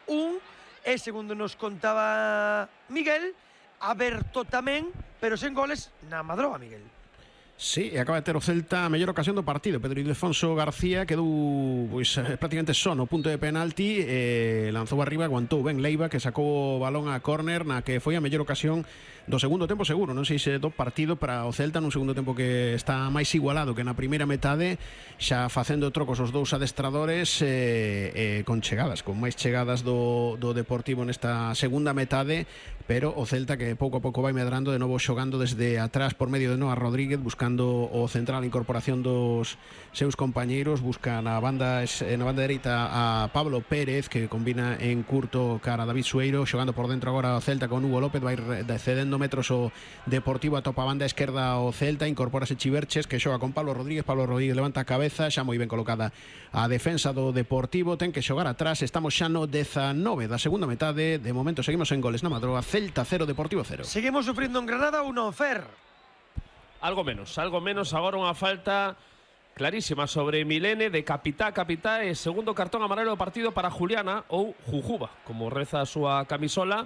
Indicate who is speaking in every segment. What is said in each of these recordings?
Speaker 1: un, e segundo nos contaba Miguel, aberto tamén, pero sen goles na Madroa, Miguel.
Speaker 2: Sí, e acaba de ter o Celta a mellor ocasión do partido. Pedro Ildefonso García quedou prácticamente só no punto de penalti, lanzou arriba, aguantou ben Leiva, que sacou o balón a córner na que foi a mellor ocasión do segundo tempo seguro, non sei se do partido para o Celta, nun segundo tempo que está máis igualado que na primeira metade, xa facendo trocos os dous adestradores, con chegadas, con máis chegadas do Deportivo nesta segunda metade, pero o Celta que pouco a pouco vai medrando, de novo xogando desde atrás por medio de Noah Rodríguez, buscando o central, a incorporación dos seus compañeiros, busca na banda dereita a Pablo Pérez, que combina en curto cara a David Sueiro, xogando por dentro agora o Celta con Hugo López, vai cedendo metros o Deportivo, a topa a banda esquerda o Celta, incorporase Chiverches, que xoga con Pablo Rodríguez levanta a cabeza, xa moi ben colocada a defensa do Deportivo, ten que xogar atrás, estamos xa no 19 da segunda metade, de momento seguimos en goles na Madroa, Celta 0, Deportivo 0.
Speaker 1: Seguimos sufrindo en Granada 1, Fer.
Speaker 3: Algo menos, agora unha falta clarísima sobre Milene de capitá, e segundo cartón amarelo do partido para Juliana ou Jujuba, como reza a súa camisola,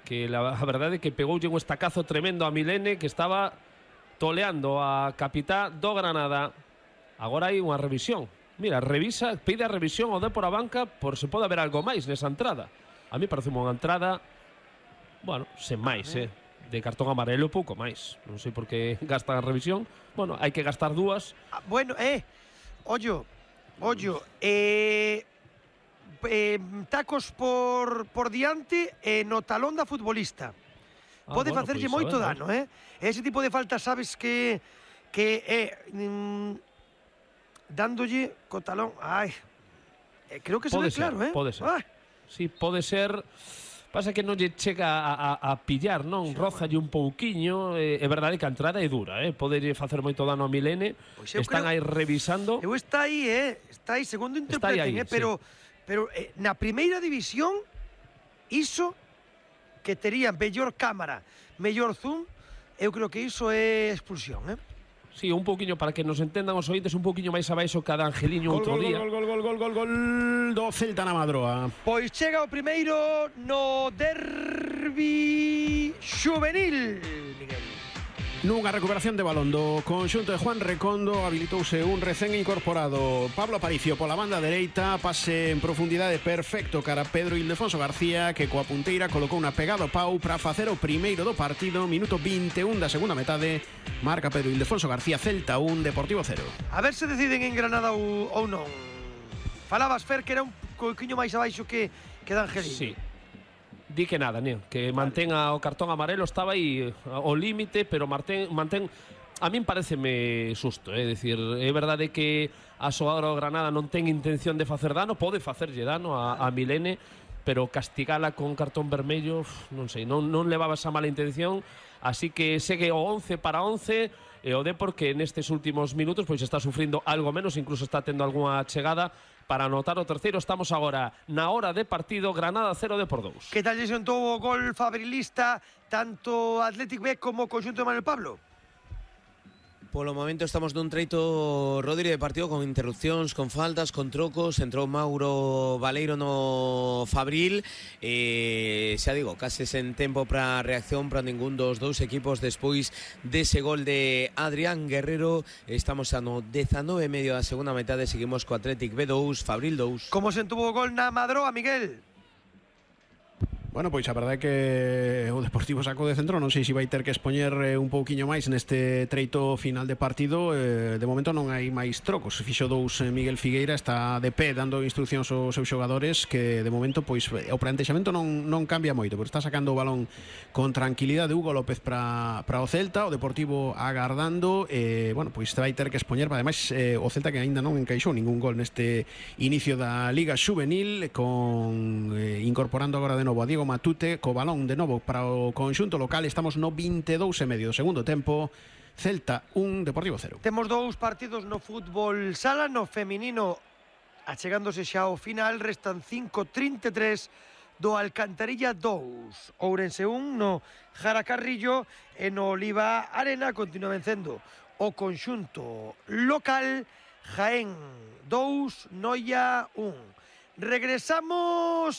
Speaker 3: que a verdade é que pegoulle un estacazo tremendo a Milene, que estaba toleando a capitá do Granada. Agora hai unha revisión. Mira, pide a revisión ao Dépor a banca por se pode haber algo máis nesa entrada. A mí parece unha entrada, bueno, sen máis, de cartón amarelo pouco máis. Non sei por que gastan a revisión. Bueno, hai que gastar dúas.
Speaker 1: Bueno, ollo, tacos por diante no talón da futbolista. Pode facerlle moito dano, Ese tipo de falta, sabes que dándolle co talón. Creo que se ve claro,
Speaker 3: Pode ser. Sí, pode ser. Pasa que non lle chega a pillar, non? Rózalle un pouquiño. É verdade que a entrada é dura, Poderlle facer moito dano a Milene. Están aí revisando.
Speaker 1: Está aí, segundo interpreten, pero na primeira división iso que tería mellor cámara, mellor zoom, eu creo que iso é expulsión,
Speaker 3: Sí, un pouquiño, para que nos entendan os ointes, un pouquiño máis abaixo cada Angeliño outro día.
Speaker 2: Gol do Celta na Madroa.
Speaker 1: Pois chega o primeiro no derbi xuvenil, Miguel.
Speaker 2: Nunha recuperación de balón do conxunto de Juan Recondo, habilitouse un recén incorporado Pablo Aparicio pola banda dereita, pase en profundidade perfecto cara a Pedro Ildefonso García, que coa punteira colocou unha pegada ao pau para facer o primeiro do partido. Minuto 21 da segunda metade, marca Pedro Ildefonso García, Celta 1, Deportivo 0.
Speaker 1: A ver se deciden en Granada ou non. Falabas, Fer, que era un coiquiño máis abaixo que D'Angelini.
Speaker 3: Sí. Di que nada, que mantenga o cartón amarelo, estaba aí ao límite, pero mantén. A min pareceme susto, é dicir, é verdade que a xogadora do Granada non ten intención de facer dano, pode facerlle dano a Milene, pero castigala con cartón vermello, non sei, non levaba esa mala intención, así que segue o 11 para 11, e o Depor que nestes últimos minutos pois está sufrindo algo menos, incluso está tendo algunha chegada para anotar o terceiro. Estamos agora na hora de partido, Granada 0, Depor 2.
Speaker 1: Que tal lle sentou o gol fabrilista tanto Athletic B como o conxunto de Manuel Pablo?
Speaker 4: Polo momento estamos nun treito, Rodri, de partido con interrupcións, con faltas, con trocos. Entrou Mauro Baleiro no Fabril, xa digo, case sen tempo para reacción para ningún dos dous equipos despois dese gol de Adrián Guerrero. Estamos a no 19 e medio da segunda metade, seguimos co Athletic B2, Fabril 2.
Speaker 1: Como se entuvo o gol na Madroa, Miguel?
Speaker 2: Bueno, pois a verdade é que o Deportivo sacou de centro, non sei se vai ter que expoñer un pouquiño máis neste treito final de partido. De momento non hai máis trocos. Fixo dous Miguel Figueira, está de pé dando instruccións aos seus xogadores, que de momento pois o plantexamento non cambia moito, pero está sacando o balón con tranquilidade Hugo López para o Celta, o Deportivo agardando, bueno, pois vai ter que expoñer, ademais o Celta que aínda non encaixou ningún gol neste inicio da Liga Xuvenil, con incorporando agora de novo a Diego Matute, co balón de novo para o conxunto local. Estamos no 22 e medio do segundo tempo, Celta 1, Deportivo 0.
Speaker 1: Temos dous partidos no fútbol sala, no feminino achegándose xa ao final, restan 5:33 do Alcantarilla 2, Ourense 1 no Jara Carrillo, e no Oliva Arena continúa vencendo o conxunto local, Jaén 2, Noia 1. Regresamos